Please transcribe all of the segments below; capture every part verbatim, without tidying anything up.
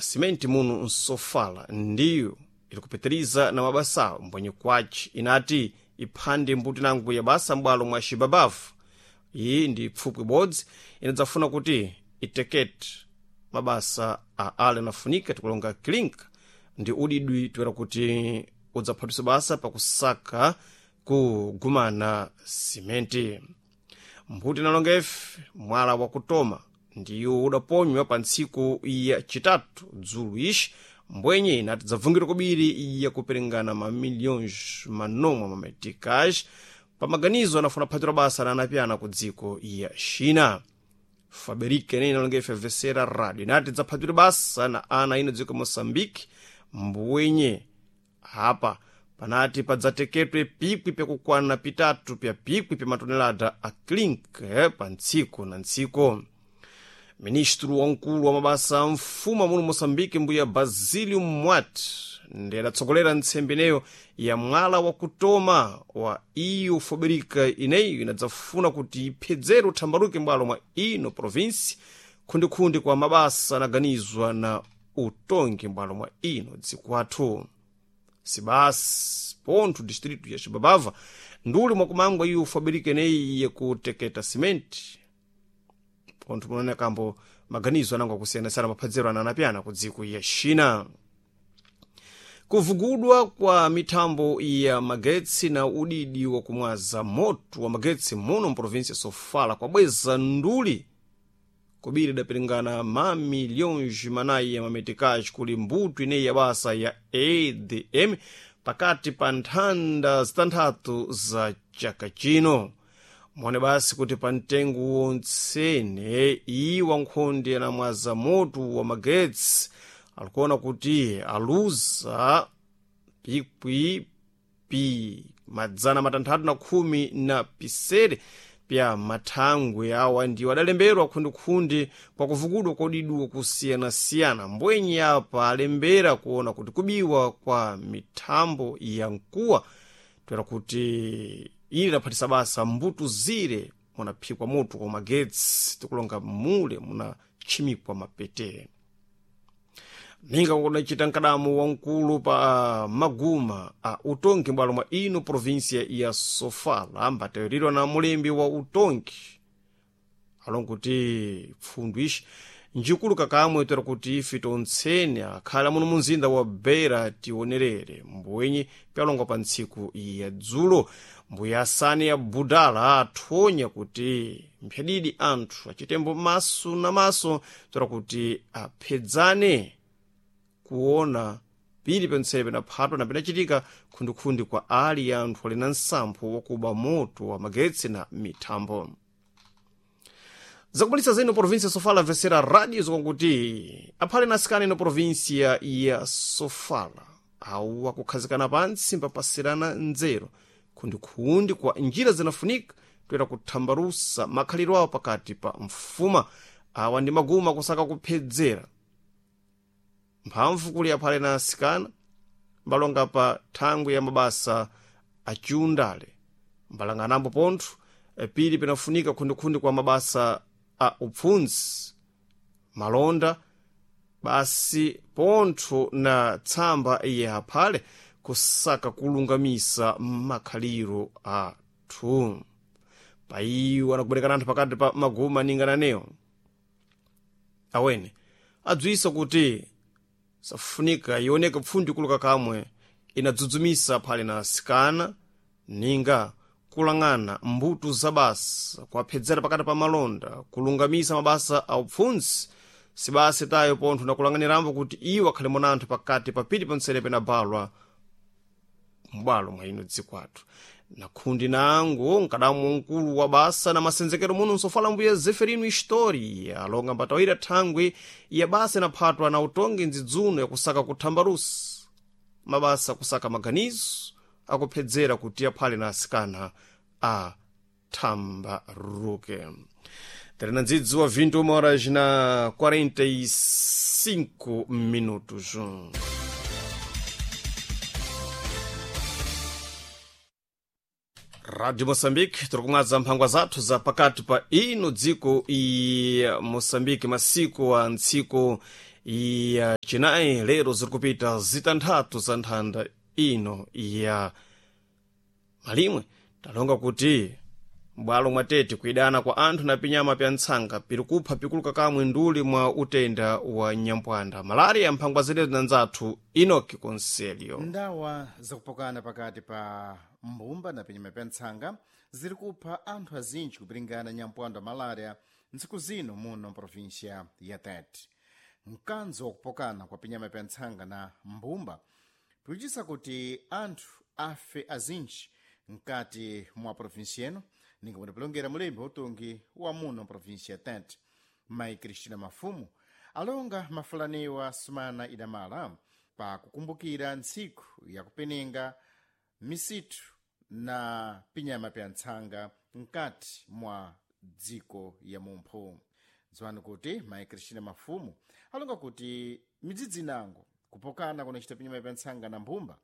simenti muno nsofala ndiyo ilikupitiriza na mabasawo mbwenye kwaci inati iphande mbuti nangu ya basa m'bwalo mwa xibabavu. Iyi ndi pfupwi ibodzi inadzafuna kuti itekete mabasa a ale anafunika tikulonga klink ndi udidwi toera kuti udzaphatwisa basa pakusaka kugumana simenti. Mbuti inalonga ife mwala wakutoma ndiwo udaponywa pa ntsiku ya chitatu dzulu ixi mbwenye inati dzabvungirwa kubiri yakuperengana mamilhões manomwe mameticais pamaganizo anafuna kuphatira basa na anapyana ku dziko ya China. Faberike ine inalonga ife vesera radio inati dzaphatira basa na ana ino dziko Moçambique mbwenye apa panati padzateketwe pikwi pyakukwana pitatu pya pikwi pya matonelada a klink eh, pa ntsiku na ntsiku. Ministro wamkulu wa mabasa a mfumu muno Moçambique mbuya Basílio Mwat ndi adatsogolera ntsembe ineyo ya mwala wakutoma wa iyo Faberika ineyo inadzafuna kuti iphedzere uthambaruke m'bwalo mwa ino provinsi khundikhundi kwa mabasa anaganizwa na utongi m'bwalo mwa ino dziko athu. Sibasi pontho distrito ya Xibabava nduli mwakumangwa iyo Faberika ineyi yakuteketa simenti pontho munaona kambo maganizo anango akusiyanasiyana maphadzero ananapyana ku dziko ya China. Kuvugudwa kwa mithambo ya magetsi na udidi wakumwaza moto wa magetsi muno mprovinsi ya Sofala kwabweza nduli kubiri idapiringana ma milhões manayi ya mametikaji kuli mbuto ineyi ya basa ya A D M pakati pa nthanda zitanthatu za chaka chino. Mone basi kuti pa mtengo wontsene iwa nkhondi anamwaza moto wa magetsi alikuona kuti aluza pikwi pi madzana matanthatu na khumi na pisere pya mathangwe awa ndiwo adalemberwa khundikhundi kwa kuvukudwa kodidwa kusiyanasiyana. Mbwenye apa alembera kuona kuti kubiwa kwa mithambo ya mkuwa toera kuti ili idaphatisa basa mbuto zire munaphikwa moto kwa magetsi tikulonga mule munatchimikwa mapete. Ninga kudacita mkadamo wamkulu pa maguma a utongi m'bwalo mwa ino provinsia ya Sofala mbatayiriridwa na mulembi wa utongi alonga kuti pfundu ixi njikulu kakamwe toera kuti ife tontsene akhala muno munzinda wa Beira tionerere mbwenye pyalongwa pa ntsiku ya dzulo. Mbuya asani ya Budala athonya kuti mphyadidi anthu achitembo maso na maso toera kuti aphedzane kuona pili pentsebe na phatwa na pinachitika khundikhundi kwa ali ya anthu ali na nsampho wakuba moto wa magetsi na mithambo. Zakupalisa zino província Sofala vesera rádio zokonkuti aphale na asikana ino província ya Sofala awu akukhazikana pantsi mpapasirana nzeru khundikhundi kwa njira zinafunika toera kuthambarusa makhaliro awo pakati pa mfuma. Awa ndi maguma kusaka kuphedzera mphamvu kuli aphale na asikana mbalonga pa thangwi ya mabasa achiundale mbalanganambo pontho pili pinafunika khundikhundi kwa mabasa a upfundzi malonda basi pontho na tsamba ya aphale kusaka kulungamisa makhaliro athu. Paiwo anakuberekana anthu pakati pa maguma ningananewo awene adziwisa kuti safunika ioneke pfundi kuluka kamwe inadzudzumisa aphale na asikana ninga kulang'ana mbuto za basa kuwaphedzera pakati pa malonda kulungamisa mabasa a upfundzi sibasi tayo pontho nakulang'anirambo kuti iwo akhale mona anthu pakati pa pili ponsene penabalwa m'bwalo mwa ino dziko athu. Na khundi nango mkadamu mkulu wa basa na masenzekero muno nsofala mbuya Zeferino Historia alonga mbatawira thangwi ya basa inaphatwa na utongi ndzidzuno yakusaka kuthambarusa mabasa kusaka maganizo akuphedzera kuti aphale na asikana a thambaruke. Terena ndzidzi wa vinte horas na quarenta e cinco minutos. Rádio Moçambique, tiri kumwaza mphangwa zathu za pakati pa ino dziko ya Moçambique masiku a ntsiku Ya chinayi lero zirikupita zitanthatu za nthanda ino ya malimwe. Talonga kuti m'bwalo mwa Tete kuidana kwa anthu na pinyama pya ntsanga piri kupha pikuluka kamwe nduli mwa utenda wa nyampwanda malaria. Mphangwa zenezo na nzathu Enoki Conselio. Ndawa zakupokana pakati pa mbumba na pinyama pya ntsanga ziri kupha anthu azinji kupiringana nyampwando wa malaria ntsiku zino muno mprovinsia ya Tete. Mkanzo wakupokana kwa pinyama pya ntsanga na mbumba pikuchisa kuti anthu afe azinji mkati mwa provinsia ino, ninga mudapilongera mulembi utungi wa muno mprovinsia ya Tete, Mayi Cristina Mafumu, alonga mafulaniwa sumana idamala pa kukumbukira ntsiku yakupenenga misitu na pinyama pya ntsanga mkati mwa dziko ya mumphu. Dziwani kuti Mayi Cristina Mafumu alonga kuti midzidzi inango kupokana kunachita pinyama pya ntsanga na mbumba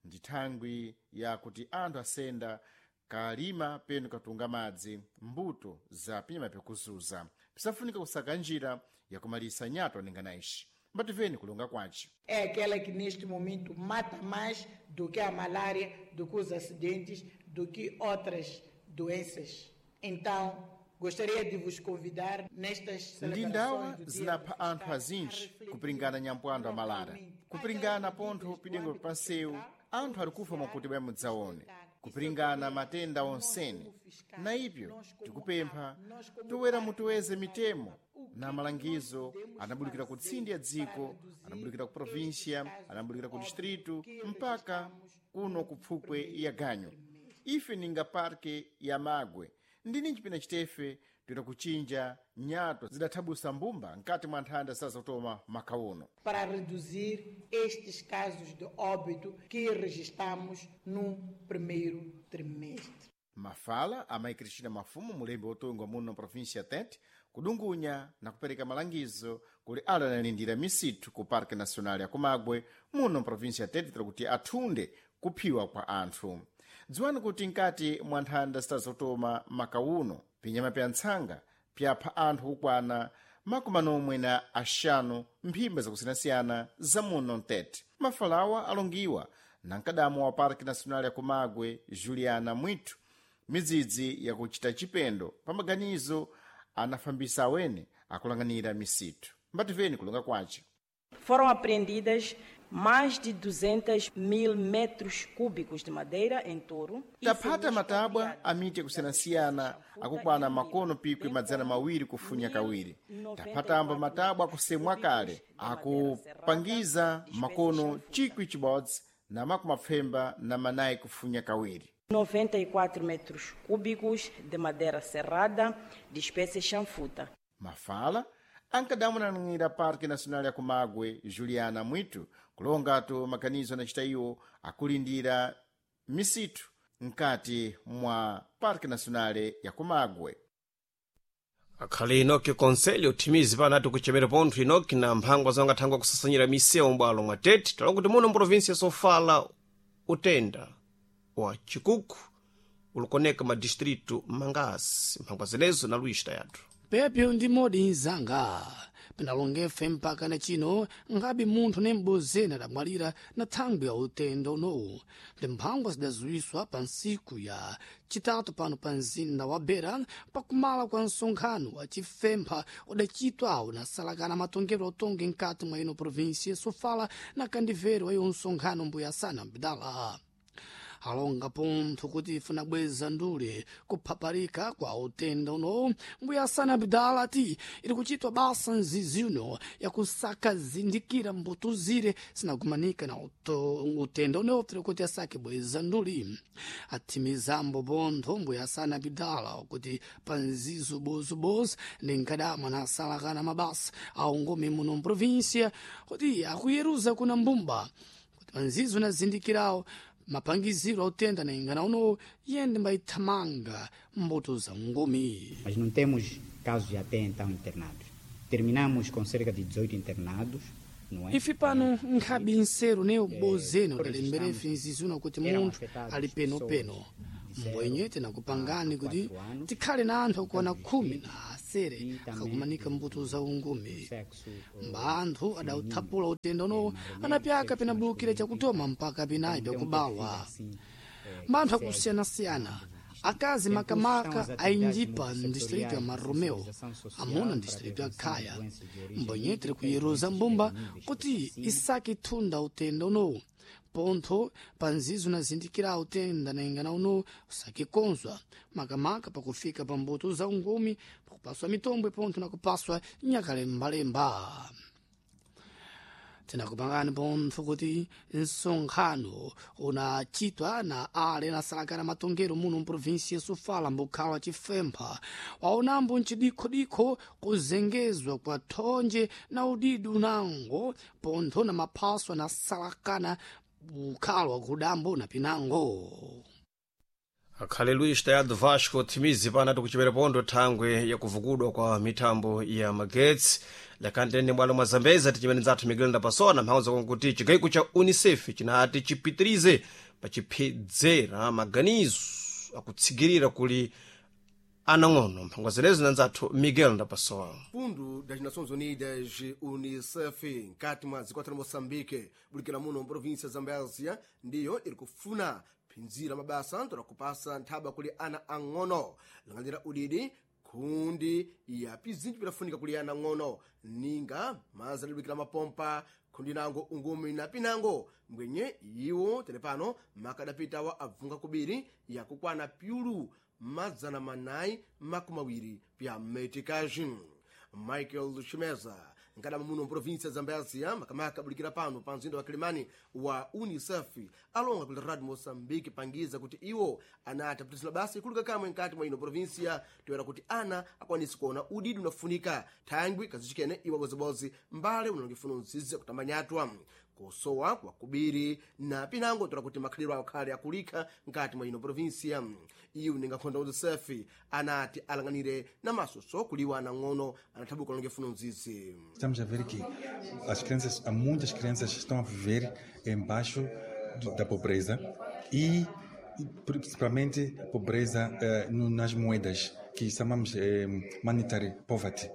ndi thangwi yakuti anthu asenda kalima penu katunga madzi mbuto za pinyama pyakuzuza, pisafunika kusaka njira yakumalisa nyato ningana ixi. Mbativeni kulonga kwace. É aquela que neste momento mata mais do que a malária, do que os acidentes, do que outras doenças. Então, gostaria de vos convidar nestas Ndi ndawa celebrações do Dia zinapha do anthu Fiscal azinji a refletir kupiringana nyampwando amalala, novamente kupiringana aquelas pontho medidas do pidengo âmbito pansewu central, anthu ali kufa mwakuti bwa mudzaone, provincial, kupiringana e matenda sobretudo, onsene. nós como fiscais, Na ipyo nós como tikupempha A, nós como toera Parque mutuweze Nacional, mitemo o que na nós malangizo podemos anabulukira ku fazer tsindi ya para dziko, reduzir anabulukira ku estes província, casos anabulukira de ku óbito distrito que mpaka registramos kuno no ku pfupwe primeiro ya ganyo. trimestre. Ife ninga parke ya Magwe ndini chipina chitefe toita kuchinja nyato zidathabusa mbumba mkati mwa nthanda zisazotoma makauno Para reduzir estes casos de óbito que registramos no primeiro trimestre. Mafala a Mayi Cristina Mafumu, mulembi wotunga muno província ya Tete, kudungunya na kupereka malangizo kuli ala analindira misitu ku Parque Nacional ya Kumagwe muno província ya Tete kuti athunde kuphiwa kwa anthu. Dziwani kuti nkati mwa nthanda zitazotoma makauno pinyama pya ntsanga pyapha anthu kukwana makumi anomwe na axanu mphimba zakusiyanasiyana za muno mtete. Mafalawa alongiwa na mkadamo wa Parque Nacional ya Kumagwe Juliana Mwitu midzidzi yakuchita chipendo pa maganizo anafambisa awene akulanganira misitu. Mbativeni kulonga kwace. Foram apreendidas mais de duzentos mil metros cúbicos de madeira em touro. Taphata matabwa a miti yakusiyanasiyana akukwana makono pikwi madzana mawiri kufunya kawiri. Taphatamba matabwa akusemwa kale akupangiza makono chikwi chibodzi na makumi mapfemba na manayi kufunya kawiri. noventa e quatro metros cúbicos de madeira serrada de espécie chanfuta. Mafala ankadamunanira Parque Nacional ya Kumagwe Juliana Mwitu kulongatu maganizo anachita iwo akulindira misitu mkati mwa Parque Nacional ya Kumagwe. Akhali Enoki Conselho thimizi panati kuchemera pontho Enoki na mphangwa zangathangwa kusasanyira misewu m'bwalo mwa Tete. Talonga kuti muno mprovinsia Sofala utenda wa chikuku ulikoneka madistritu mangasi. Mphangwa zenezo na Luís Tayatu. Pepyo ndi modi mzanga pinalongefe mpaka na chino ngabe munthu ne m'bozeni adamwalira na thangwi ya utenda unowu. Ndi mphangwa zidazuwiswa pa ntsiku ya chitatu pano pa mzinda wa Beira pakumala kwa msonkhano wa chifempha udachitwawo nasalakana matongedwe otonge mkati mwa ino província Sofala na kandivero wa iwo msonkhano mbuya sana mbidala alonga pontho kuti ifuna bweza ndule kuphaparika kwa utenda uno. Mbuya sana Abdala ati ili kuchitwa basa nzizi uno yakusaka zindikira mbuto zire sinakumanika na uto, utenda uno tiri kuti asake bweza nduli. Athimizambo pontho mbuya sana Abdala kuti pa nzizo bozobozo ndi nkadamwa nasalakana mabasa aungome muno mprovíncia kuti akuyeruza kuna mbumba kuti panzizo nazindikirawo mapangiziro autenda na ingana uno yende mbaithamanga mbuto za ngumi. Mas não temos casos até então internados. Terminamos com cerca de dezoito internados, não é? Ife pano nkhabe nseru ne ubozeni Eh, udalemberefe nzizuna kuti eram munthu afetados ali penopeno pessoas Mbwenye tinakupangani kuti tikhale na anthu okwana khumi na asere akakumanika mbuto za ungumi. Mba anthu adauthapula utenda unowo anapyaka pinabulukira chakutoma mpaka pinayi pyakubawa. Mba anthu akusiyanasiyana, akazi makamaka ainjipa ndistrito ya Marromeu, amuna ndistrito ya Khaya. Mbwenye tiri kuyeruza mbumba kuti isake thunda utenda unowu pontho panzizo unazindikira utenda naingana uno usakikonzwa makamaka pakufika pa mbuto za ungumi, pakupaswa mitombwe pontho nakupaswa nyakalembalemba. Tinakupangani pontho kuti msonkhano unachitwa na ale nasalakana matongero muno mprovinsi ya Sofala mbukhala wa Chifempha waonambo mchidikhodikho kuzengezwa kwa thonje na udidi unango pontho na maphaso anasalakana bukhala wa kudambo na pinango. Akhale Luis Tayado Vasco thimizi pana tikuchipera pondo thangwe yakuvukudwa kwa mithambo ya magetsi. Lakantene bwalo mwa Zambeza tichimene nzathu Miguel Ndapasona mphauza konkuti chigaiko cha UNICEF chinati chipitirize pachiphedzera maganizo akutsigirira kuli anang'ono. Mphangwa zenezo na nzathu Miguel Ndapasona. Fundo das Nações Unidas, Unicef, nkati mwa zikwata la Moçambique, bulikira muno mprovinsia Zambésia, ndiyo iri kufuna phinzira mabasa ntola kupasa nthaba kuli ana ang'ono lang'anira udidi khundi ya pizinji pilafunika kuli ana ang'ono ninga mazi adalibikira mapompa khundi nango ungumi na pinango mbwenye iwo telepano makadapitawa abvunga kubiri yakukwana pyulu mazana manayi makumi awiri pya metikaji. Michael Chimeza nkadama muno mprovinsia Zambésia makamaka abulikira pano pa mzinda wa Kilimani wa UNICEF alonga kuli Radio Moçambique pangiza kuti iwo anati apitisira basa ikuluka kamwe nkati mwa ino provinsia toyera kuti ana akwanise kuona udidi unafunika thangwi kazichikene iwo abozibozi mbale unalongefuna nzizi akutamanyatwa kusowa kwa kubiri na pinango tola kuti makhaliro awo khale akulikha nkati mwa ino provinsia. Iwo ningakhonda UNICEF anati alang'anire na masoso kuliwa anang'ono anathabuka alongefuna nzizi. Estamos a ver que as crianças, há muitas crianças que estão a viver embaixo do, da pobreza e principalmente pobreza eh, no, nas moedas, que chamamos eh, monetary poverty.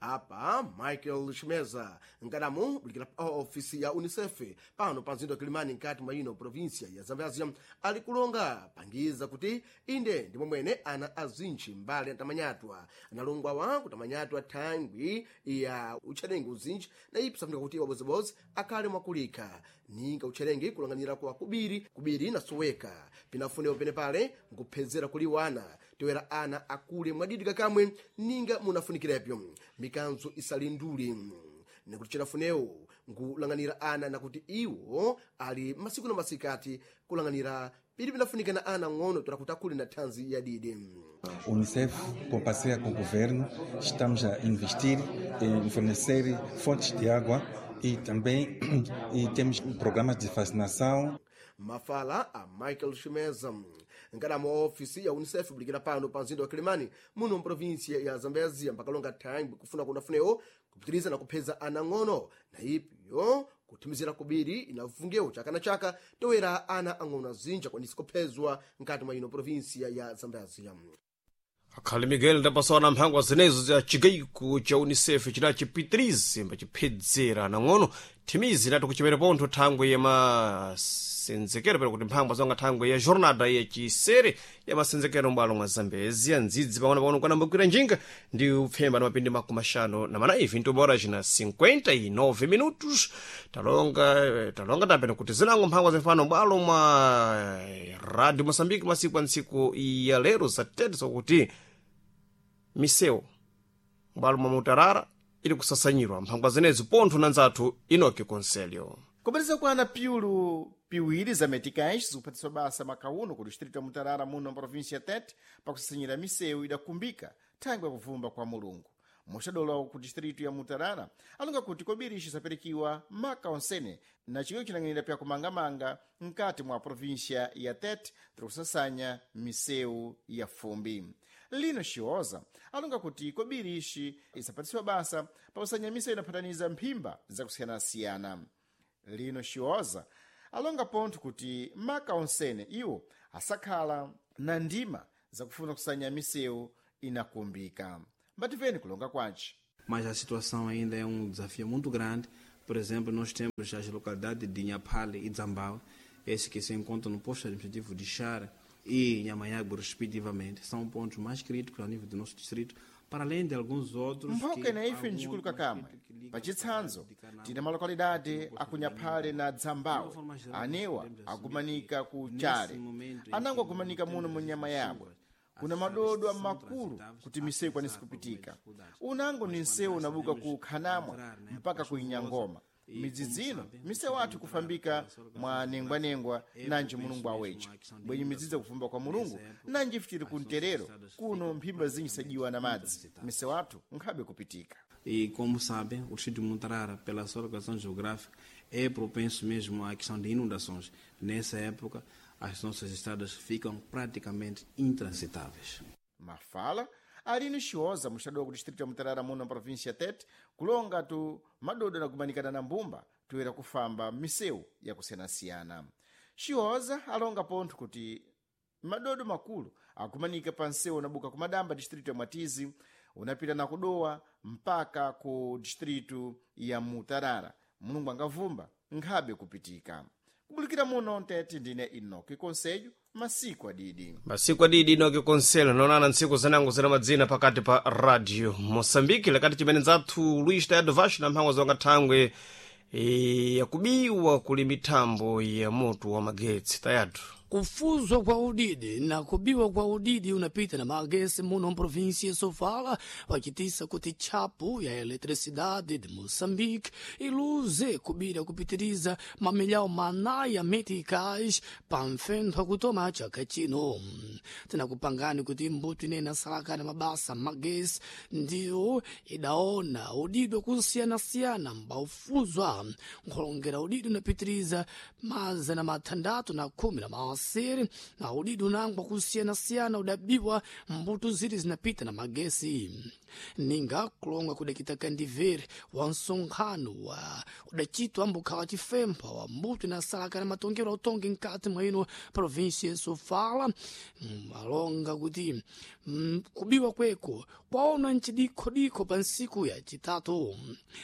Apa Michael Chimeza nkadamu bulikira ofisi ya UNICEF pano pa mzinda wa Kilimani nkati mwa ino provinsia ya Zambésia ali kulonga pangiza kuti inde ndimo mwene ana azintchi mbali antamanyatwa analongwawa kutamanyatwa thangwi ya utcherengi uzintchi na ipi safunika kuti wabozibozi akhale mwakulikha ninga utcherengi kulang'anira kwa kubiri kubiri nasoweka pinafunewo penepale nkuphedzera kuli wana toyera ana akule mwadidika kamwe ninga munafunikirepyo mikanzo isalinduli nikuti chinafunewo nkulang'anira ana nakuti iwo ali masiku na masikati kulang'anira pili pinafunika na ana ng'ono tola kuti akule na thanzi yadidi. Unicef, com parceria com o governo, estamos a investir em fornecer fontes de água e também e temos programas de vacinação. Mafala a Michael Chimeza nkadama wa ofisi ya UNICEF bulikira pano pa mzinda wa Kilimani muno mprovinsia ya Zambésia mpakalonga thangwi kufuna kunafunewo kupitiriza na kupheza ana ng'ono na ipyo kuthimizira kubiri inavungewo chaka na chaka toyera ana ang'ono azinja kwanisa kuphezwa nkati mwa ino provinsia ya Zambésia. Akhale Miguel Ndapasona mphangwa zinezo za chigaiko cha UNICEF chidachipitirize mbachiphedzera nang'ono thimizi lati kuchimera pontho thangwe yamasenzekero pera kuti mphangwa zonga thangwe ya jornada yachisere ya masenzekero m'bwalo mwa Zambezia ndzidzi pang'ono-pang'ono kwanambukira njinga ndi upfemba na mapindi makumi axanu na manayi vintu horas na cinquenta e nove minutos. Talonga talonga tapena kuti zinango mphangwa zimfano m'bwalo mwa Radio Moçambique masiku a ntsiku ya lero zatete zokuti misewu m'bwalo mwa Mutarara ili kusasanyirwa mphangwa zenezi pontho na nzathu Inoki Conselho. Kupatisa kwana piulu piwiri za meticais zikuphatiswa basa makauno ku distrito ya Mutarara muno mprovinsia ya Tete pakusasanyira misewu idakumbika thangwi yakuvumba kwa Mulungu. Muxadolowa ku distrito ya Mutarara alonga kuti kobiri ixi isaperekiwa maka onsene na chigawo cinang'anira pya kumangamanga mkati mwa província ya Tete tiri kusasanya misewu ya fumbi. Lino Xioza alonga kuti kobiri ixi isapatisiwa basa pakusanya misewu inaphataniza mphimba zakusiyanasiyana. Lino Xioza alonga pontho kuti maka onsene iwo asakhala na ndima zakufuna kusanya misewu inakumbika. Mbativeni kulonga kwace. Mas a situação ainda é um desafio muito grande. Por exemplo, nós temos as localidades de Inhapale e Zambau, esses que se encontram no posto administrativo de Chara e Inhamanhago, respectivamente, são pontos mais críticos a nível do nosso distrito, para além de alguns outros. Mphoka na ife ncikuluka kamwe. Pachitsanzo, tina malokalidade akunyaphale na Dzambawe, anewa agumanika ku Chale, anango agumanika muno mu nyama yabwe. Kuna madodo makulu kuti misewu ikwanise kupitika. Unango ni nsewu unabuka ku Khanamwa mpaka ku Inyangoma. Midzi zino misewu athu kufambika mwa nengwanengwa nanji Mulungu awecha bwenye midzidzi kufamba kwa Mulungu nanji ife ku mterero kuno mphimba zinji sajiwa na madzi misewu athu nkhabe kupitika. E como sabem, o distrito de Mutarara, pela sua localização geográfica, é propenso mesmo à questão de inundações. Nessa época, as nossas estradas ficam praticamente intransitáveis. Mafala Aline Chioza, mostrador do distrito de Mutarara muno na província Tete, kulonga tu madodo na kumanikana na mbumba toera kufamba misewu yakusiyanasiyana. Chioza alonga pontho kuti madodo makulu akumanika pa nsewu unabuka kumadamba distrito ya Mwatizi unapita na kudowa mpaka ku distrito ya Mutarara. Mulungu angavumba nkhabe kupitika. Kubulikira muno Ntete ndine Inoki Conselho, masiku adidi. Masiku adidi Inoki Conselho naonana ntsiku zanango zina madzina pakati pa Radio Moçambique lakati chimene nzathu Luís Tayado Vasco na mphango zonga thangwe e, yakubiwa kuli mithambo ya moto wa magetsi. Tayado. Kufuzwa kwa udidi na kubiwa kwa udidi unapita na magesi muno mprovinsia ya Sofala wachitisa kuti tchapu ya eletricidade de Moçambique iluze kubira kupitiriza mamilhau manayi ya meticais pa mfentho akutoma chaka chino. Tinakupangani kuti mbuto inene asalakana mabasa magesi ndiyo idaona udidi wakusiyanasiyana mbaufuzwa nkholongera udidi unapitiriza mazana mathandatu na khumi na masere na udidi unangwa kusiyanasiyana udabiwa mbuto ziri zinapita na magesi. Ninga kulonga kudakita kandivere wa nsonkhano wa udachitwa mbukhala chifempha wa mbuto inasalakana matongero autongi mkati mwa ino província ya Sofala. Alonga kuti mm, kubiwa kweko kwaona nchidikhodikho pa nsiku ya chitatu.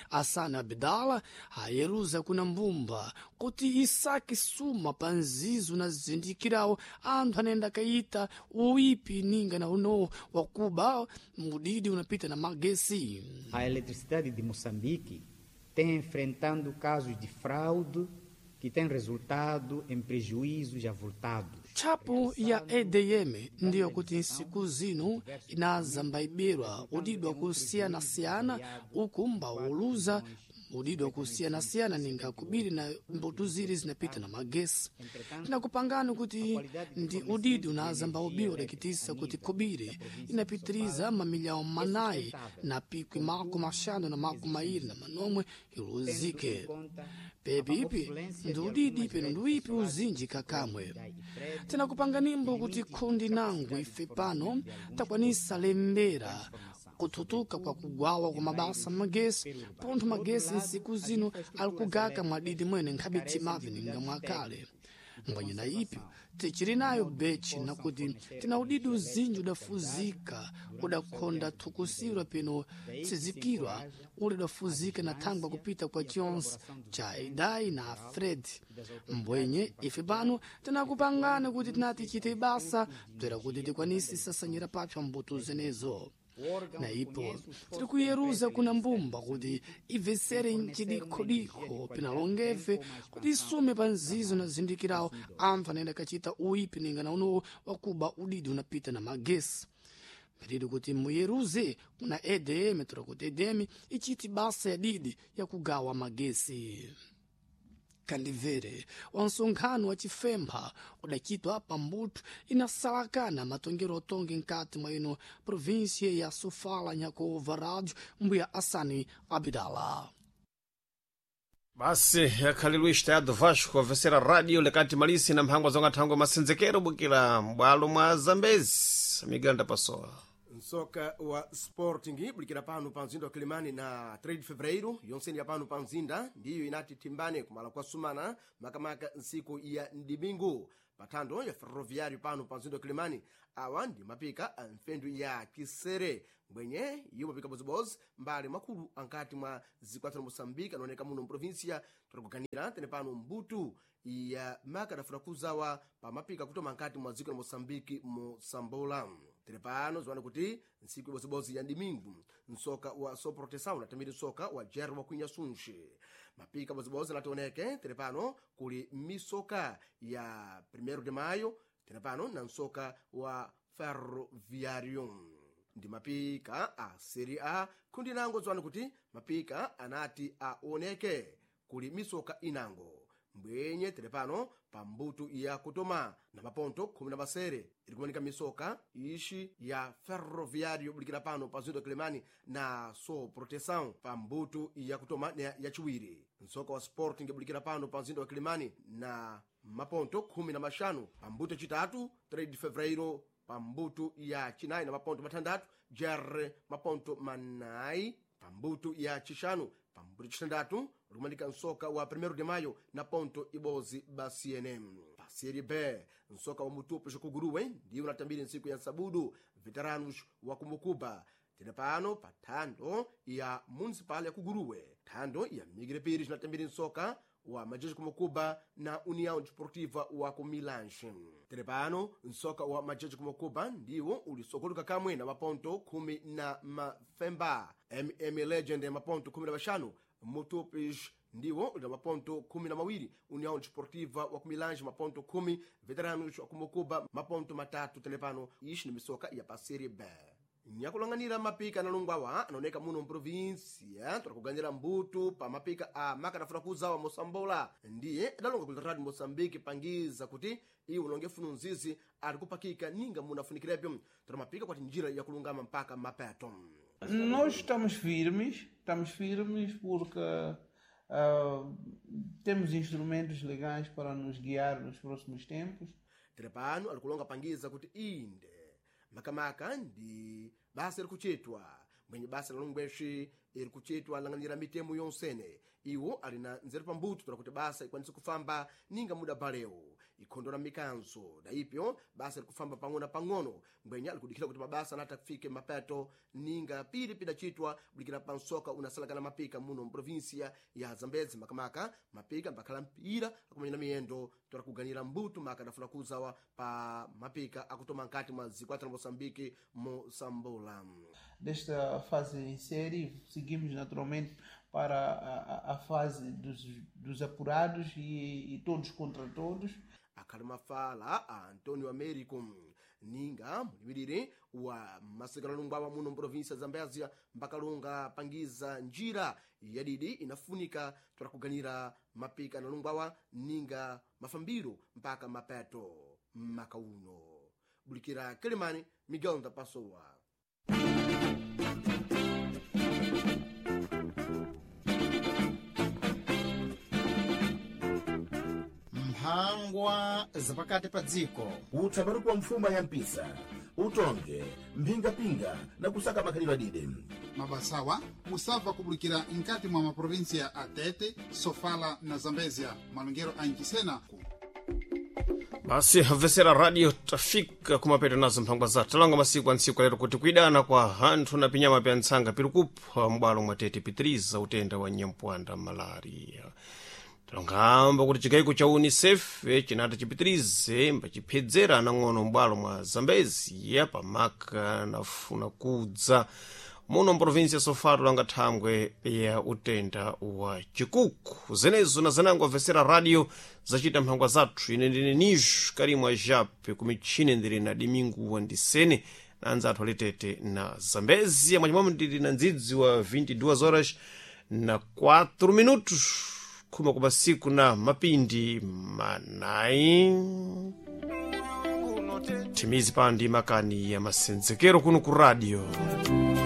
Asana Abdala ayeruza kuna mbumba kuti isaki suma pa nzizo na zindikirawo anthu anayenda kayita uipi ninga na uno wakuba mudidi unapita na magesi. A eletricidade de Moçambique tem enfrentando casos de fraude que têm resultado em prejuízos avultados. Tchapu ya E D M ndiyo kuti nsiku zino inazambaibirwa udidi wakusiyanasiyana uku mbauluza udidi wakusiyanasiyana ninga kubiri na mbuto ziri zinapita na magesi. Tinakupangani kuti ndi udidi unazamba ubiwa udakitisa kuti kubiri inapitiriza mamilhau manayi na pikwi makumi maxanu na makumi mairi na manomwe iluzike. Pepipi ndi udidi peno ndi uipi uzinji kakamwe. Tinakupanganimbo kuti khundi nangu ife pano takwanisa lembera kuthutuka kwa kugwawa kwa mabasa magesi pontho magesi nsiku zino ali kugaka mwadidi mwene nkhabe timavi ninga mwakale. Mbwanyina ipyo tichiri nayo bechi nakuti tina udidi uzinji udafuzika udakhonda thukusirwa peno tsizikirwa uli udafuzika na thangwa kupita kwa chionse cha Idai na Fred. Mbwenye ife pano tinakupangana kuti tinati chite basa bzera kuti tikwanise sasanyira papsa mbuto zenezo. Na ipo tiri kuyeruza kuna mbumba kuti ibvesere mchidikhodikho pinalongefe kuti isume pa nzizo na zindikirawo anthu anayenda kachita uipi ninga na unowo wakuba udidi unapita na magesi. Mphiriri kuti muyeruze kuna E D M tora kuti E D M ichiti basa ya didi yakugawa magesi. Kandivere wa nsonkhano wa chifempha udachitwa pambuto inasalakana matongero otongi mkati mwa ino província ya Sofala nyakuva rádio mbuya Assani Abdala. Basi yakhali Luís Tayado Vasco avesera rádio lekati malisi na mphangwa zonga thangwe masenzekero bukira m'bwalo mwa Zambezi miganda pasowa. Nsoka wa Sporting bulikira pano pa mzinda wa Kilimani na três de Fevereiro yonseni ya pano pa mzinda ndiyo inati timbane kumala kwa sumana makamaka nsiku ya ndimingu pathando ya Ferroviário pano pa mzinda wa Kilimani. Awa ndi mapika a mfendu ya Kisere mbwenye iwo mapika bozibozi mbali makulu ankati mwa zikwatsa la Moçambique anaoneka muno mprovinsia tikuganira tene pano mbutu ya maka adafuna kuzawa pa mapika kutoma nkati mwa dziko la Moçambique mosambola. Tere pano ziwana kuti ntsiku ibozibozi ya ndimingu msoka wa Soproteção unatamiri msoka wa Jerry wa Kwinyasunche mapika bozibozi anationeke tere pano kuli misoka ya primeiro de Maio tere pano na msoka wa Ferroviário ndi mapika a Serie A kundi nango ziwani kuti mapika anati aoneke kuli misoka inango mbwenye tere pano pa mbutu ya kutoma na maponto khumi na masere iri kumanika misoka ixi ya Ferroviário bulikira pano pa zinto Kilimani na So Proteção pa mbutu ya kutoma na yachiwiri. Msoka wa Sporting bulikira pano pa mzinda wa Kilimani na maponto khumi na maxanu pa mbuto yacitatu três de Fevereiro pa mbuto ya chinayi na maponto matandatu Jerre maponto manayi pa mbuto ya chixanu pa mbuto chitandatu likumanika msoka wa primeiro de Maio na ponto ibozi ba C N M. Pa Série B msoka wa Mutupo Xikuguruwe ndiwo unatambiri ntsiku ya nsabudu Veteranos wa Kumbukuba tene pano pa thando ya Municipal ya Kuguruwe. Thando ya Migre Pires inatambiri msoka wa Majeji Kumukuba na União Desportiva wa Kumilanche. Tere pano msoka wa Majeji Kumukuba ndiwo ulisokoluka kamwe na maponto khumi na mafemba. M M Legend ya maponto khumi na maxanu, Mutupis ndiwo uli na maponto khumi na mawiri, União Desportiva wa Kumilange maponto khumi, Veteranos wa Kumukuba maponto matatu. Tere pano ixi ni misoka ya pa Série B. Nyakulang'anira mapika analungwawa anaoneka muno mprovinsia tolakuganira mbutu pa mapika a makanafuna kuzawa mosambola ndiye adalonga ku Radio Moçambique pangiza kuti iwo unonge funu nzizi ali kupakika ninga munafunikirepo tola mapika kwati njira yakulungama mpaka mapeto. Nós estamos firmes, estamos firmes porque ah, temos instrumentos legais para nos guiar nos próximos tempos. Tere pano alikulonga pangiza kuti inde makamaka ndi basa iri kuchitwa mwenye basa la longweshi iri kuchitwa lang'anira mitemo yonsene iwo ali na nzeru pambuto tola kuti basa ikwanise kufamba ninga muda balewo ikhondola mikanzo na ipyo basa iri kufamba pang'ono na pang'ono mbwenya ali kudikhira kuti mabasa anati afike mapeto ninga pili pidachitwa bulikira pa msoka unasalakana mapika muno mprovinsia ya Zambezi makamaka mapika mbakhala mpira akumenya miyendo tola kuganira mbuto maka adafuna kuzawa pa mapika akutoma nkati mwa zikwata la Moçambique mosambola. Desta fase em série, seguimos naturalmente para a, a- a fase dos, dos apurados e, e todos contra todos. Akhali mafala a Antonio Américo ninga mulimirire wa masekanalungwawa muno mprovinsia ya Zambezia mbakalunga pangiza njira yadidi inafunika tola kuganira mapika analungwawa ninga mafambiro mpaka mapeto maka uno. Bulikira Kilimani, Miguel Ndapasowa. Mphangwa zapakati pa dziko. Utsambaruko wa mfuma ya mpisa utonge mphingapinga na kusaka makhalidwe adide. Mabasawa musabva kubulikira nkati mwa maprovinsia a Tete, Sofala na Zambezia malongero a Nchisena. Basi havesera radio tafika kumapeto nazo mphangwa zathu talonga masiku antsiku alero kuti kuidana kwa hanthu na pinyama pya ntsanga piri kupha m'bwalo mwa Tete pitiriza utenda wa nyampwanda malaria. Talongamba kuti chikayiko cha UNICEF chinati chipitirize mbachiphedzera anang'ono m'bwalo mwa Zambezi pamaka nafuna kudza muno mprovinsi ya Sofala langa thangwe ya utenda wa chikuku zenezo na zanango avesera radio zachita mphangwa zathu. Ine ndine Nijo Karimwa Jape kumichine ndili na Dimingu Wandisene na anzathu alitete na Zambezi mwachimwamo ndili na ndzidzi wa vinte e duas horas na quatro minutos khuma kwa masiku na mapindi manayi timizi pandi makani ya masenzekero kuno ku radio.